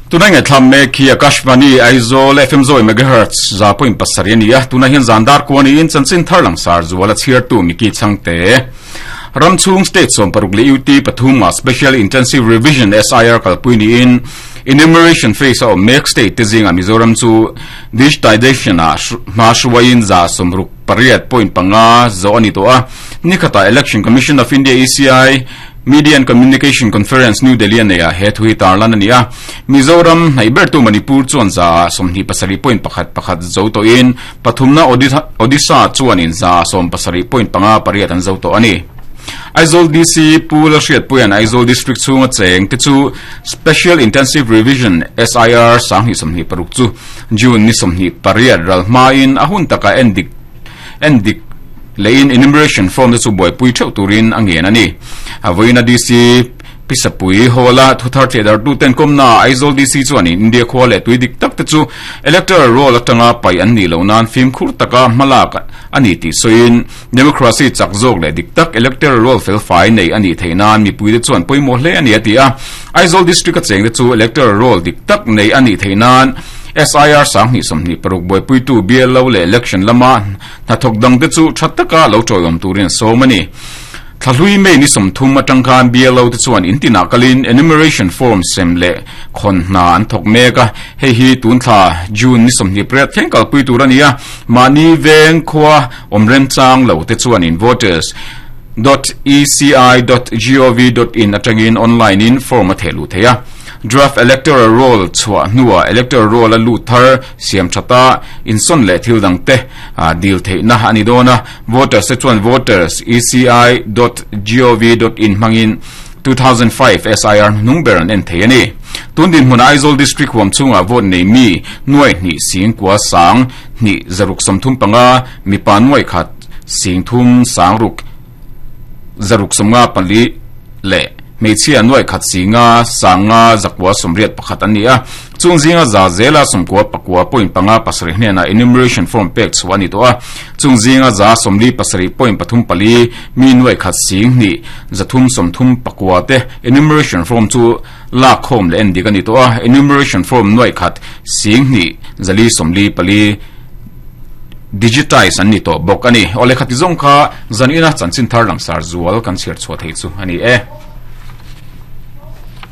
Tuna ngaihthlam mek hi Akashvani Aizawl FM zawi megahertz 100.7 a ni a, tuna hian zan dar kuan niin chanchin thar langsar zual a chhiartu Mickey Chhangte. Ram chhung state 16 leh UT pathum ah Special Intensive Revision, SIR, kalpui niin Enumeration phase a awm mek state te zingah Mizoram chu Digitization ah hma hruaiin 68.5 zawh a ni tawh a. Nikhatah Election Commission of India, ECI, Media and Communication Conference, New Delhi a neihah he thu hi tarlan a ni a. Mizoram hnaih bertu Manipur chuan 27.11 zo tawhin pathumna Odisha chuanin 77.58 an zo tawh a ni. Aizawl DC Pu Lalhriatpuia'n Aizawl District chhunga cheng te chu Special Intensive Revision, SIR, 2026 chu June ni 28 ral hmain a hun taka endik endik lehin enumeration form te chu buaipui theuh turin a ngen a ni. A vawiina DC Pisapui Hall-a thuthar thehdarhtuten kawmnaah Aizawl DC chuanin India khua leh tui dik tak te chu electoral roll atanga paih an nih loh nan fimkhur taka hmalak a ni tih sawiin democracy chak zawk leh dik tak electoral roll felfai nei a nih theih nan mipuite chuan pawimawh hle a ni a ti a. Aizawl District-a chengte chu electoral roll dik tak nei a nih theih nan SIR 2026 buaipuitu BLO leh election lama hnathawk dangte chu tha taka lo tawiawm turin a sawm a ni. Thlahlui May ni 30 atang khan BLO te chuan in tinah kalin enumeration form sem leh khawn hna an thawk mek a, hei hi tun thla June ni 28 thleng kalpui tur a ni a, mahni veng khua awm remchang lo te chuanin voters dot eci dot gov dot in atangin online in form a theh luh theih a. Draft Electoral Roll chhuah hnuah Electoral Roll a lut thar siam that a, insawn leh thil dang te dil theihna a ni dawn a. Voters te chuan voters eci dot gov dot in hmangin 2005 SIR hnung ber an en thei a ni. Tun dinhmunah Aizawl District huam chhungah vote nei mi nuai hnih sing kua sang hnih zaruk 35, mipa nuai khat sing thum sang ruk zaruk 54 leh hmeichhia nuai khat singa sanga zakua 81 an ni a. Chung zinga za zela 99.57 hnenah enumeration form pek chhuah a ni tawh a. Chung zinga za 47.34 mi nuai khat sing hnih 339 te enumeration form chu lak khawm leh en dik a ni tawh a. Enumeration form nuai khat sing hnih 454 digitize an ni tawh bawk a ni. Awle khati zawng kha zanina chanchin thar langsar zual kan chhiar chhuah thei chu a ni e.